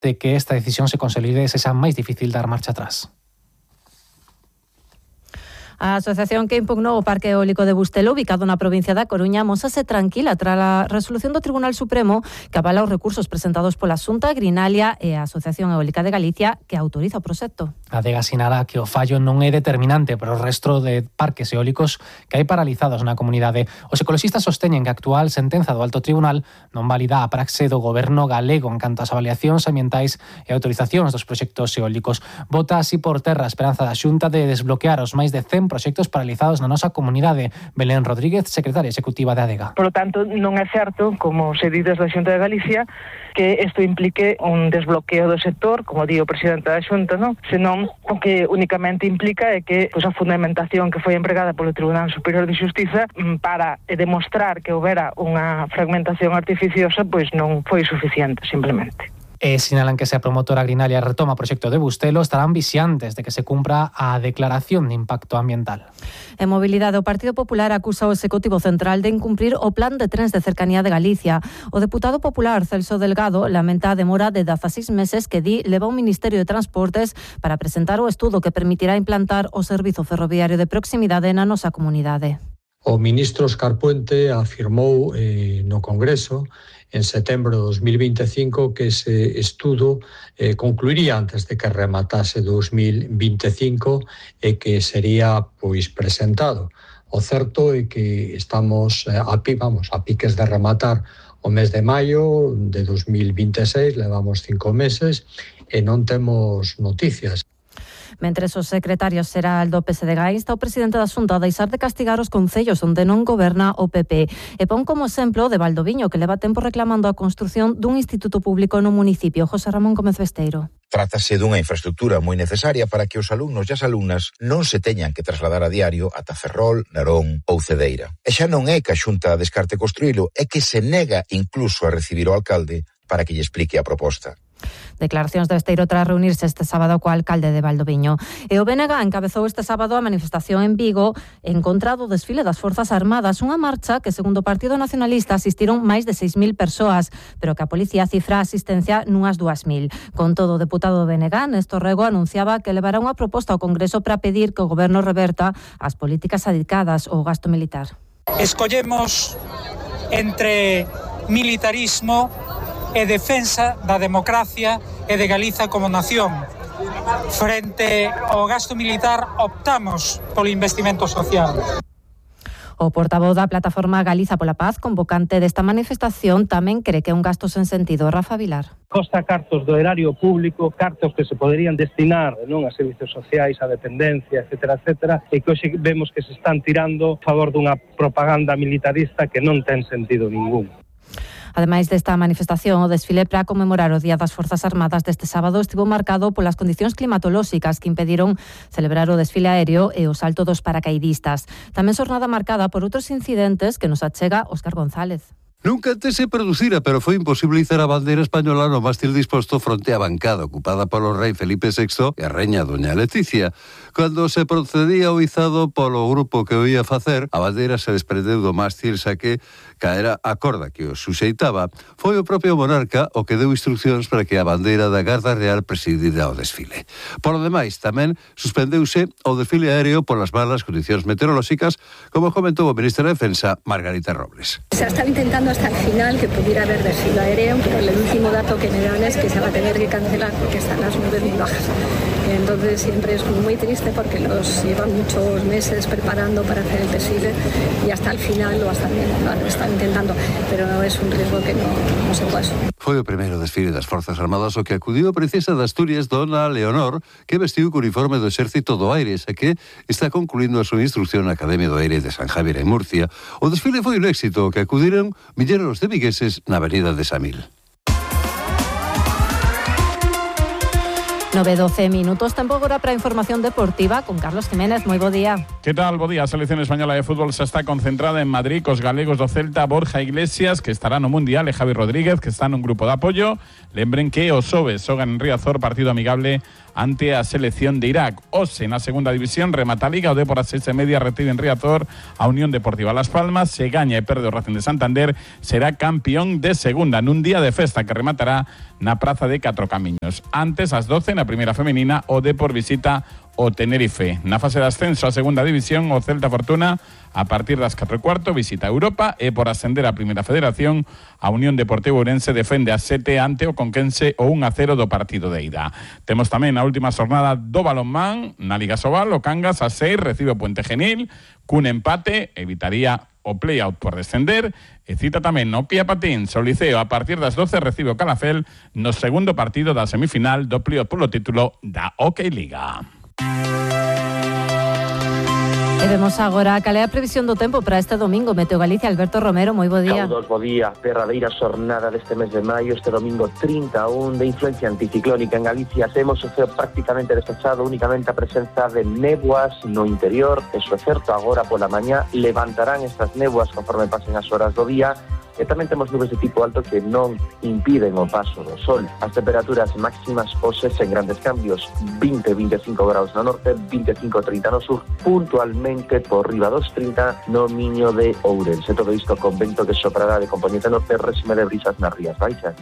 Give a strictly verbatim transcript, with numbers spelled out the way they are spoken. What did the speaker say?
de que esta decisión se consolide e sexa máis difícil dar marcha atrás. A asociación que impugnou o Parque Eólico de Bustelo, ubicado na provincia da Coruña, mósase tranquila tras a resolución do Tribunal Supremo que avala os recursos presentados pola Xunta, Grinalia e a Asociación Eólica de Galicia que autoriza o proxecto. A Adega sinala que o fallo non é determinante para o resto de parques eólicos que hai paralizados na comunidade. Os ecoloxistas sosteñen que a actual sentenza do Alto Tribunal non valida a praxe do goberno galego en canto ás avaliacións ambientais e autorizacións dos proxectos eólicos. Bota así por terra a esperanza da Xunta de desbloquear os máis de cen proxectos paralizados na nosa comunidade. Belén Rodríguez, secretaria executiva de Adega. Por lo tanto, non é certo, como se di desde a Xunta de Galicia, que isto implique un desbloqueo do sector, como di o presidente da Xunta, non? Senón o que únicamente implica é que pois, a fundamentación que foi empregada polo Tribunal Superior de Xustiza para demostrar que houbera unha fragmentación artificiosa, pois non foi suficiente, simplemente. E sinalan que se a promotora Grinalia retoma o proxecto de Bustelo, estarán vixiantes de que se cumpra a declaración de impacto ambiental. En mobilidade, o Partido Popular acusa o Executivo Central de incumprir o plan de trens de cercanía de Galicia. O deputado popular Celso Delgado lamenta a demora de dezaseis meses que di leva o Ministerio de Transportes para presentar o estudo que permitirá implantar o servizo ferroviario de proximidade na nosa comunidade. O ministro Óscar Puente afirmou eh, no Congreso en setembro de dos mil vinte e cinco que ese estudo eh, concluiría antes de que rematase dos mil vinte e cinco e que sería pois presentado. O certo é que estamos eh, a, vamos, a piques de rematar o mes de maio de dos mil vinte e seis, levamos cinco meses e non temos noticias. Mentres o secretario xeral do P S D G insta o presidente da Xunta a deixar de castigar os concellos onde non goberna o P P e pon como exemplo de Valdoviño, que leva tempo reclamando a construción dun instituto público no municipio. José Ramón Gómez Besteiro. Trátase dunha infraestructura moi necesaria para que os alumnos e as alumnas non se teñan que trasladar a diario ata Ferrol, Narón ou Cedeira. E xa non é que a Xunta descarte construílo, é que se nega incluso a recibir o alcalde para que lle explique a proposta. Declaracións de Besteiro tras reunirse este sábado co alcalde de Valdoviño. E o B N G encabezou este sábado a manifestación en Vigo en contra do desfile das Forzas Armadas, unha marcha que, segundo o Partido Nacionalista, asistiron máis de seis mil persoas, pero que a policía cifra a asistencia nunhas dúas mil. Con todo, o deputado do B N G, Néstor Rego, anunciaba que levará unha proposta ao Congreso para pedir que o Goberno reverta as políticas adicadas ao gasto militar. Escollemos entre militarismo e defensa da democracia e de Galiza como nación. Frente ao gasto militar optamos polo investimento social. O portavoz da plataforma Galiza pola Paz, convocante desta manifestación, tamén cree que é un gasto sen sentido. Rafa Vilar. Costa cartos do erario público, cartos que se poderían destinar non a servicios sociais, a dependencia, etcétera, etcétera, e que hoxe vemos que se están tirando a favor dunha propaganda militarista que non ten sentido ningún. Ademais desta manifestación, o desfile para conmemorar o Día das Forzas Armadas deste sábado estivo marcado polas condicións climatolóxicas que impediron celebrar o desfile aéreo e o salto dos paracaidistas. Tamén xornada marcada por outros incidentes que nos achega Óscar González. Nunca antes se producira, pero foi imposible izar a bandeira española no mástil disposto fronte á bancada ocupada polo rei Felipe sexto e a reña doña Leticia. Cando se procedía ao izado polo grupo que o ia facer, a bandeira se desprendeu do mástil xa que caera a corda que o suxeitaba. Foi o propio monarca o que deu instruccións para que a bandeira da Garda Real presidira o desfile. Por lo demais, tamén suspendeuse o desfile aéreo polas malas condicións meteorolóxicas, como comentou o ministro de Defensa, Margarita Robles. Se estaba intentando hasta el final que pudiera haber desfile aéreo, pero el último dato que me dan es que se va a tener que cancelar porque están las nubes muy bajas. Entonces siempre es muy triste porque los llevan muchos meses preparando para hacer el desfile y hasta el final lo están, lo están intentando, pero es un riesgo que no, no se puede asumir. Foi o primeiro desfile das Forzas Armadas o que acudiu a princesa de Asturias, dona Leonor, que vestiu co uniforme do Exército do Aire, xa que está concluindo a súa instrucción na Academia do Aire de San Javier en Murcia. O desfile foi un éxito que acudiron milleros de vigueses na avenida de Samil. nove doce minutos, tempo agora para a información deportiva con Carlos Jiménez. Moi bo día. Que tal? Bo día. A selección española de fútbol se está concentrada en Madrid cos galegos do Celta, Borja Iglesias, que estará no Mundial, e Javi Rodríguez, que está nun grupo de apoio. Lembren que os xoves xogan en Riazor, partido amigable ante a selección de Irak. Hoxe, na segunda división, remata a Liga, o Dépor a seis e media recibe en Riazor a Unión Deportiva Las Palmas. Se gaña e perde o Racing de Santander, será campeón de segunda nun día de festa que rematará na Praza de Catro Camiños. Antes, ás doce, na primeira femenina, o Dépor visita o Tenerife. Na fase de ascenso a segunda división, o Celta Fortuna, a partir das catro e cuarto, visita Europa, e por ascender a primeira federación, a Unión Deportiva Ourense defende a sete ante o Conquense o un a cero do partido de ida. Temos tamén a última xornada do balonmán na Liga Sobal, o Cangas a seis recibe o Puente Genil, cun empate evitaría o play-out por descender, e cita tamén no Pía Patins, o Liceo a partir das doce recibe o Calafel no segundo partido da semifinal do play-out polo título da Hockey Liga. E vemos agora cal é a previsión do tempo para este domingo. Meteo Galicia, Alberto Romero, moi bo día. Saudos, bo día. Derradeira xornada deste mes de maio, este domingo trinta e un, de influencia anticiclónica en Galicia. Temos o ceo prácticamente despexado, únicamente a presenza de néboas no interior. Eso é certo, agora pola mañá levantarán estas néboas conforme pasen as horas do día. E tamén temos nubes de tipo alto que non impiden o paso do sol. As temperaturas máximas hoxe sen grandes cambios, vinte a veinticinco graus no norte, veinticinco a trinta no sur, puntualmente por riba dos trinta no Miño de Ourense. Todo isto con vento que soprará de componente norte, réxime de brisas nas Rías Baixas.